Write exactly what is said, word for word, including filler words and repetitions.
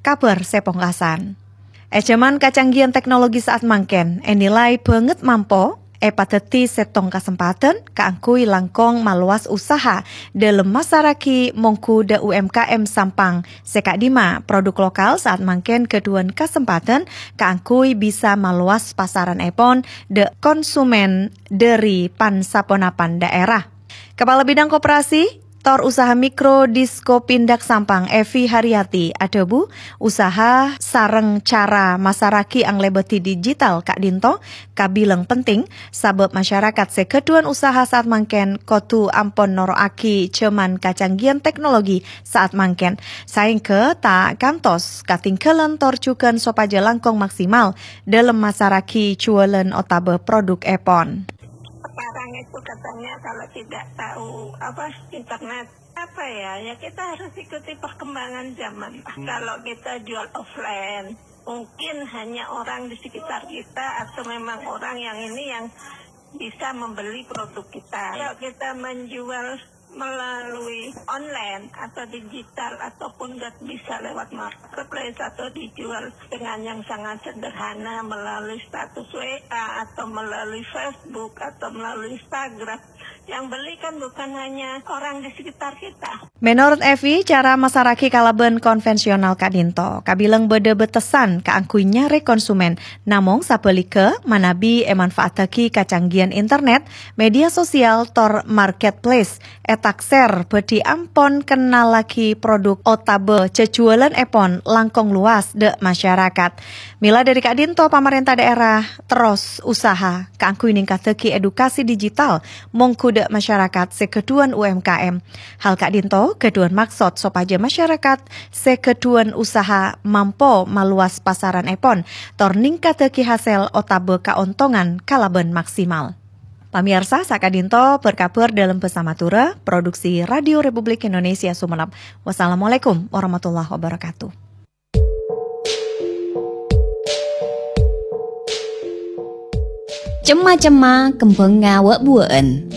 Kabhâr sè pongkasan. È jhâman kacanggihan teknologi sa'at mangkèn, ènilai bângèt mampo èpadhâddhi sèttong kasempadhân kaangghuy langkong malowas usaha dhâlem masaraghi mongghu dâ' U M K M Sampang sè ka'dimma produk lokal sa'at mangkèn ghâdhuwân kasempadhân kaangghuy bisa malowas pasarannèpon dâ' konsumen dhâri pan-saponapan dhaèra. Kapala Bidang Koperasi tor Usaha Mikro Diskopindag Sampang, Evi Haryati, adhâbu, usaha sareng cara masaraghi anglèbâdhi digital ka'dinto kabilang penting, sabâb masyarakat sè ghâdhuwân usaha sa'at mangkèn kodhu ampon noro'aghi jhâman kacanggihan teknologi sa'at mangkèn, saèngghâ ta' kantos katinggalan tor jhughân sopajâ langkong maksimal dhâlem masaraghi juwâlân otabâ produk èpon. Sekarang itu katanya kalau tidak tahu apa internet, apa ya, ya kita harus ikuti perkembangan zaman. Kalau kita jual offline, mungkin hanya orang di sekitar kita atau memang orang yang ini yang bisa membeli produk kita. Kalau kita menjual melalui online atau digital ataupun nggak bisa lewat marketplace atau dijual dengan yang sangat sederhana melalui status W A atau melalui Facebook atau melalui Instagram. Yang beli kan bukan hanya orang di sekitar kita. Menurut Evi, cara masaraghi kalabân konvensional ka'dinto kabilang bâdâ bâtesan kaangghuy nyarè konsumen. Namong sabhâligghâ, manabi èmanfaataghi kacanggihan internet, media sosial, tor marketplace, ètaksèr bhâdhi ampon kennallaghi produk otabâ jhâjhuwâlân èpon langkong lowas dâ' masyarakat. Mèla dhâri ka'dinto pamarènta dhaèra terros usaha kaangghuy ningkaddhâghi edukasi digital mongghu dâ' masyarakat sè ghâdhuwân U M K M. Hal ka'dinto ghâdhuwân maksod sopajâ masyarakat sè ghâdhuwân usaha mampo malowas pasarannèpon, tor ningkaddhâghi hasèl otabâ kaontongan kalabân maksimal. Pamèyarsa, saka'dinto bhâr-kabhâr dhâlem bhâsa Madhurâ, produksi Radio Republik Indonesia Sumenep. Wassalamualaikum warahmatullahi wabarakatuh. Cemma-cemma kembhângnga wâ'-buwâ'ân.